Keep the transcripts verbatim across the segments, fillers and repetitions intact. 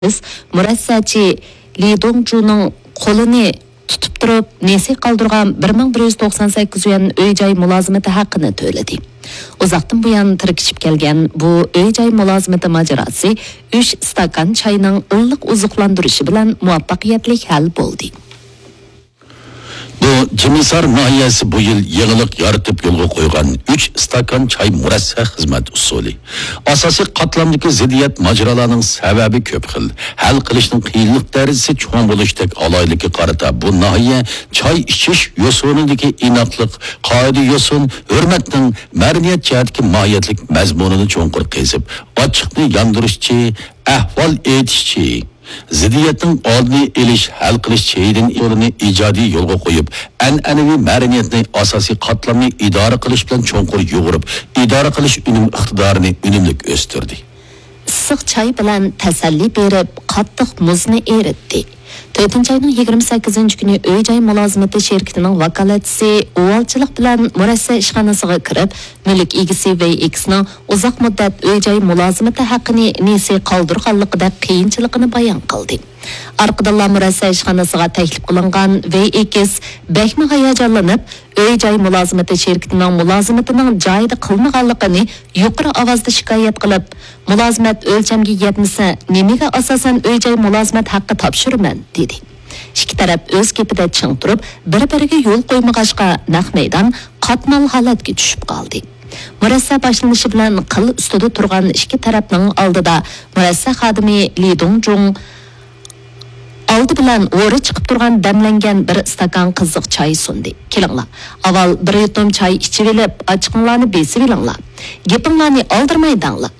مۇرەسسەچى لى دۇڭجۇنىڭ قولىنى تۇتۇپ تۇرۇپ، نېسى قالدۇرغان بىر مىڭ بىر يۈز توقسان سەككىز يۈەن ئۆي-جاي مۇلازىمىتى ھەققىنى تۆلىدى. ئۇزاقتىن بۇيان تىركىشىپ كەلگەن بۇ ئۆي-جاي مۇلازىمىتى ماجىراسى ئۈچ ئىستاكان چاينىڭ ئىللىق ئوزۇقلاندۇرۇشى بىلەن مۇۋەپپەقىيەتلىك ھەل بولدى. بۇ جىمىسار ناھىيەسى بۇ يىل يېڭىلىق يارىتىپ يولغا قويغان ئۈچ ئىستاكان چاي مۇرەسسە خىزمەت ئۇسۇلى. ئاساسىي قاتلامدىكى زىددىيەت ماجىرالارنىڭ سەۋەبى كۆپ خىل. ھەل قىلىشنىڭ قىيىنلىق دەرىجىسى چوڭ بولۇشتەك ئالاھىدىلىككە قارىتا بۇ ناھىيە چاي ئىچىش يوسۇنىدىكى ئىناقلىق، قائىدە-يوسۇن، ھۆرمەتنىڭ مەدەنىيەت جەھەتتىكى ماھىيەتلىك مەزمۇنىنى چوڭقۇر قېزىپ، ئاچچىقنى ياندۇرۇشچى، ئەھۋال ئېيتىشچى، زىددىيەتنىڭ ئالدىنى ئېلىش، ھەل قىلىش چېيىدىن ئۇسۇلىنى ئىجادىي يولغا قويۇپ، ئەنئەنىۋى مەدەنىيەتنى ئاساسىي قاتلامنى ئىدارە قىلىش بىلەن چوڭقۇر يۇغۇرۇپ، ئىدارە قىلىش ئۈنۈم ئىقتىدارىنى ئۈنۈملۈك ئۆستۈردى. ئىسسىق چاي بىلەن تەسەللى بېرىپ، قاتتىق مۇزنى ئېرىتتى. تۆتىنچى ئاينىڭ يىگىرمە سەككىزىنچى كۈنى ئۆي-جاي مۇلازىمىتى شىركىتىنىڭ ۋاكالەتچىسى ئۇۋالچىلىق بىلەن مۇرەسسە ئىشخانىسىغا كىرىپ، مۈلۈك ئىگىسى ۋېي ئېكسنىڭ ئۇزاق مۇددەت ئۆي-جاي مۇلازىمىتى ھەققىنى نېسى قالدۇرغانلىقىدەك قىيىنچىلىقىنى بايان قىلدى. ئارقىدىنلا مۇرەسسە ئىشخانىسىغا تەكلىپ قىلىنغان ۋېي ئېكس بەكمۇ ھاياجانلىنىپ، ئۆي-جاي مۇلازىمىتى شىركىتىنىڭ مۇلازىمىتىنىڭ جايىدا قىلمىغانلىقىنى يۇقىرى ئاۋازدا شىكايەت قىلىپ، مۇلازىمەت ئۆلچەمگە يەتمىسە، نېمىگە ئاساسەن ئۆي-جاي مۇلازىمەت ھەققى تاپشۇرىمەن؟ دېدى. ئىككى تەرەپ ئۆز گېپىدە چىڭ تۇرۇپ، بىر-بىرىگە يول قويمىغاچقا، نەق مەيدان قاتمال ھالەتكە چۈشۈپ قالدى. مۇرەسسە باشلىنىشى بىلەن قىل ئۈستىدە تۇرغان ئىككى تەرەپنىڭ ئالدىدا مۇرەسسە خادىمى لى دۇڭجۇڭ ئالدى بىلەن ھورى چىقىپ تۇرغان دەملەنگەن بىر ئىستاكان قىزىق چاي سۇندى. كېلىڭلار، ئاۋۋال بىر يۇتۇم چاي ئىچىۋېلىپ، ئاچچىقىڭلارنى بېسىۋېلىڭلار. گېپىڭلارنى ئالدىرىماي دەڭلار.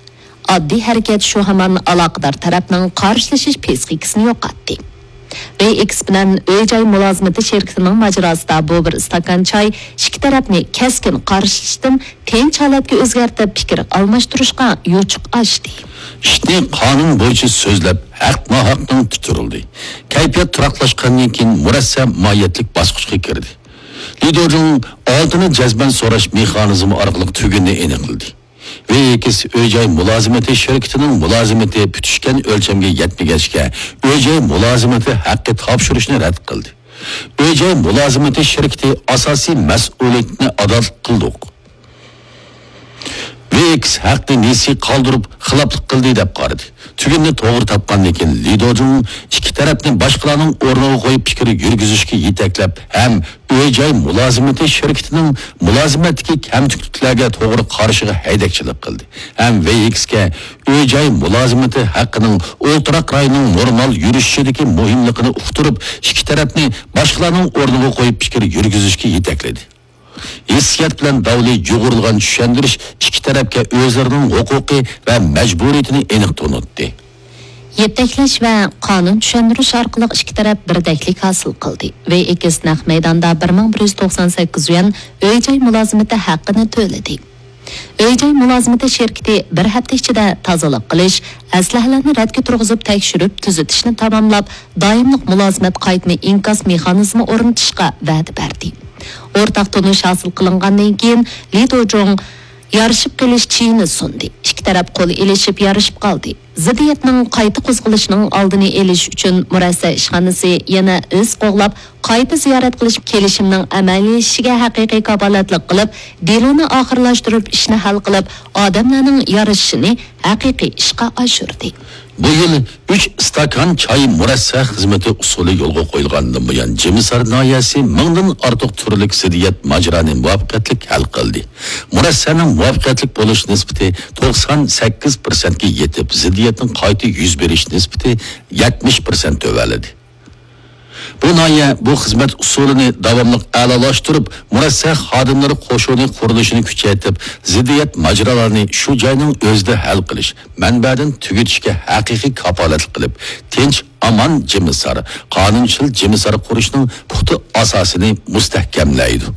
ئاددىي ھەرىكەت شۇ ھامان ئالاقىدار تەرەپنىڭ قارشىلىشىش پىسخىكىسىنى يوقاتتى. ۋېي ئېكس بىلەن ئۆي-جاي مۇلازىمىتى شىركىتىنىڭ ماجىراسىدا بۇ بىر ئىستاكان چاي ئىككى تەرەپنى كەسكىن قارشىلىشتىن تىنچ ھالەتكە ئۆزگەرتىپ، پىكىر ئالماشتۇرۇشقا يوچۇق ئاچتى. ئىشنى قانۇن بويىچە سۆزلەپ، ھەق-ناھەقنىڭ تۇتۇرۇلدى. كەيپىيات تۇراقلاشقاندىن كېيىن مۇرەسسە ماھىيەتلىك باسقۇچقا كىردى. لى دۇجۇڭ ئالتىنى جەزمەن سوراش مېخانىزمى ئارقىلىق تۈگۈننى ئېنىقلىدى. ۋېي ئېكس ئۆي-جاي مۇلازىمىتى شىركىتىنىڭ مۇلازىمىتى پۈتۈشكەن ئۆلچەمگە يەتمىگەچكە، ئۆي-جاي مۇلازىمىتى ھەققى تاپشۇرۇشنى رەت قىلدى. ئۆي-جاي مۇلازىمىتى شىركىتى ئاساسىي مەسئۇلىيىتىنى ئادا قىلدۇق. ۋېي ئېكس ھەقنى نېسى قالدۇرۇپ، خىلاپلىق قىلدى دەپ قارىدى. تۈگۈننى توغرا تاپقاندىن كېيىن، لى دۇجۇڭ ئىككى تەرەپنى باشقىلارنىڭ ئورنىغا قويۇپ پىكىر يۈرگۈزۈشكە يېتەكلەپ ھەم ئۆي-جاي مۇلازىمىتى شىركىتىنىڭ مۇلازىمەتتىكى كەمتۈكلۈكلەرگە توغرا قارىشىغا ھەيدەكچىلىك قىلدى ھەم ۋېي ئېكسكە ئۆي-جاي مۇلازىمىتى ھەققىنىڭ ئولتۇراق رايوننىڭ نورمال يۈرۈشۈشىدىكى مۇھىملىقىنى ئۇقتۇرۇپ، ئىككى تەرەپنى باشقىلارنىڭ ئورنىغا قويۇپ پىكىر يۈرگۈزۈشكە يېتەكلىدى. ھېسسىيات بىلەن داۋلى يۇغۇرۇلغان چۈشەندۈرۈش ئىككى تەرەپكە ئۆزلىرىنىڭ ھوقۇقى ۋە مەجبۇرىيىتىنى ئېنىق تونۇتتى. يېتەكلەش ۋە قانۇن چۈشەندۈرۈش ئارقىلىق ئىككى تەرەپ بىردەكلىك ھاسىل قىلدى. ۋېي ئېكس نەق مەيداندا بىر مىڭ بىر يۈز توقسان سەككىز يۈەن ئۆي-جاي مۇلازىمىتى ھەققىنى تۆلىدى. ئۆي-جاي مۇلازىمىتى شىركىتى بىر ھەپتە ئىچىدە تازىلىق قىلىش، ئەسلىھەلەرنى رەتكە تۇرغۇزۇپ تەكشۈرۈپ تۈزىتىشنى تاماملاپ، دائىملىق مۇلازىمەت قايتما ئىنكاس مېخانىزمى ئورنىتىشقا ۋەدە بەردى. ئورتاق تونۇش ھاسىل قىلىنغاندىن كېيىن، لى دۇجۇڭ يارىشىپ قېلىش چېيىنى سۇندى. ئىككى تەرەپ قول ئېلىشىپ يارىشىپ قالدى. زىددىيەتنىڭ قايتا قوزغىلىشىنىڭ ئالدىنى ئېلىش ئۈچۈن مۇرەسسە ئىشخانىسى يەنە ئىز قوغلاپ، قايتا زىيارەت قىلىش كېلىشىمىنىڭ ئەمەلىيلىشىشىگە ھەقىقىي كاپالەتلىك قىلىپ، دېلونى ئاخىرلاشتۇرۇپ، ئىشنى ھەل قىلىپ، ئادەملەرنىڭ يارىشىشىنى ھەقىقىي ئىشقا ئاشۇردى. بۇ يىل ئۈچ ئىستاكان چاي مۇرەسسە خىزمىتى ئۇسۇلى يولغا قويۇلغاندىن بۇيان، جىمىسار ناھىيەسى مىڭدىن ئارتۇق تۈرلۈك زىددىيەت ماجىرانى مۇۋەپپەقىيەتلىك ھەل قىلدى. مۇرەسسەنىڭ مۇۋەپپەقىيەتلىك بولۇش نىسبىتى توقسان سەككىز پىرسەنتكە يېتىپ، زىددىيەتنىڭ قايتا يۈز بېرىش نىسبىتى يەتمىش پىرسەنت تۆۋەنلىدى. بۇ ناھىيە بۇ خىزمەت ئۇسۇلىنى داۋاملىق ئەلالاشتۇرۇپ، مۇرەسسە خادىملىرى قوشۇنى قۇرۇلۇشىنى كۈچەيتىپ، زىددىيەت ماجىرالارنى شۇ جاينىڭ ئۆزىدە ھەل قىلىش، مەنبەدىن تۈگىتىشكە ھەقىقىي كاپالەتلىك قىلىپ، تىنچ، ئامان جىمىسار، قانۇنچىل جىمىسار قۇرۇشنىڭ پۇختا ئاساسىنى مۇستەھكەملەيدۇ.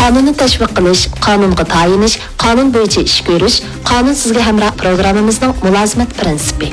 قانۇننى تەشۋىق قىلىش، قانۇنغا تايىنىش، قانۇن بويىچە ئىش كۆرۈش، قانۇن سىزگە ھەمراھ پروگراممىمىزنىڭ مۇلازىمەت پىرىنسىپى.